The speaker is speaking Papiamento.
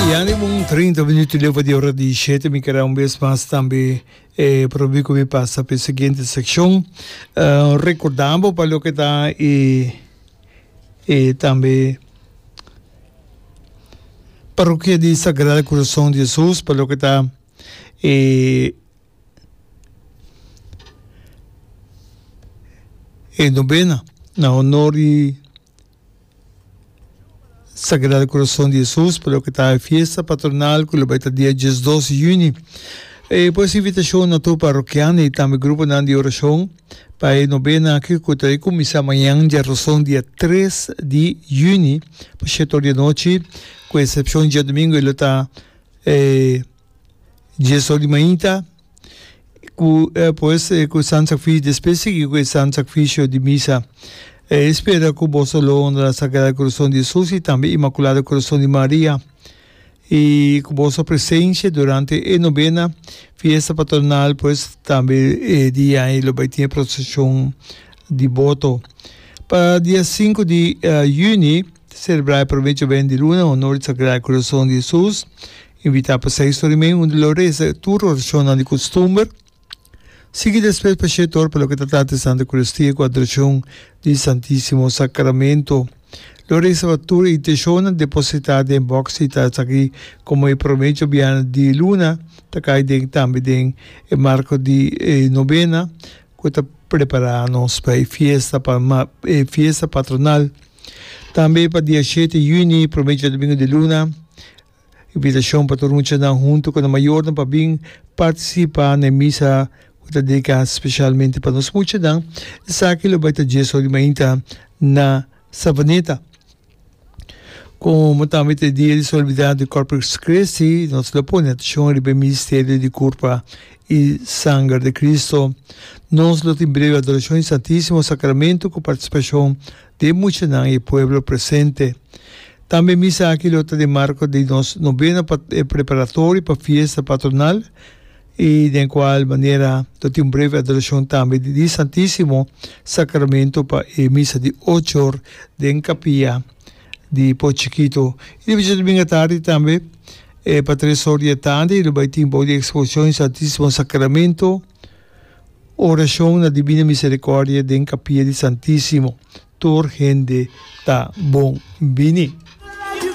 Ya ni un 30 minuut leu di ora di shete mi kere un bes mas tambe eh, probi ku mi pasa pa e siguiente sekshon. Uh, rekordambo pa loke ta e e tambe Parokia di Sagrado Corazon di Jesus pa loke ta e e nobena na honor di Sagrado Corazon di Jesus pa loke ta e fiesta patronal ku lo bai ta dia 12 di juni. E pues invitashon na tur parokiano i tambe gruponan di orashon pa e nobena aki ku ta kuminsá mañan djaroson dia 3 di juni pa shete or di anochi ku eksepshon djadumingu e lo ta e dies or di mainta. Ku pues ku Santo Sakrifisio despues sigui ku e Santo Sakrifisio di misa. E spera ku boso lo honra Sagrado Kurason di Hesus i tambe Imakulado Kurason di Maria i ku boso presensia durante e nobena fiesta patronal pues tambe e dia ei lo bai tin e proseshon di boto. Pa dia sinku di yüni ta selebrá e promé djoben di luna honor di Sagrado Kurason di Hesus. Invitá pa seis ora i mei unda lo reza tur orashonnan di kustumber. Sigui despues pa shete or pa loke ta trata di Santa Eucaristia ku adorashon di Santisimo Sakramento. Lo reza pa tur e inteshonnan depositá den bòks i ta esaki komo e promé djobiana di luna ta kai den tambe den e marko di e nobena ku ta prepará nos pa e fiesta pa e fiesta patronal. Tambe pa dia shete yüni promé djadumingu di luna. Invitashon pa tur muchanan huntu ku nan mayornan pa bin partisipá na e misa ku ta dediká spesialmente pa nos muchanan. Esaki lo bai ta dies or di mainta na Savaneta. Komo tambe ta e dia di solemnidat di Corpus Christi, nos lo pone atenshon riba e misterio di Kurpa i Sanger di Cristo. Nos lo tin breve adorashon di Santisimo Sacramento ku partisipashon di e muchanan i e pueblo presente. Tambe misa aki lo ta den marco di nos novena preparatorio pa fiesta patronal y den cual manera lo tin un breve adoracion tambe di Santisimo Sacramento pa e misa di ocho or den capilla di Po Chikito. Y di djadomingo atardi tambe pa tres or di e tardi lo bay tin bou di exposicion di Santisimo Sacramento. Orashon na Dibina Misericordia den Capilla di Santisimo. Tur hende ta bon bini.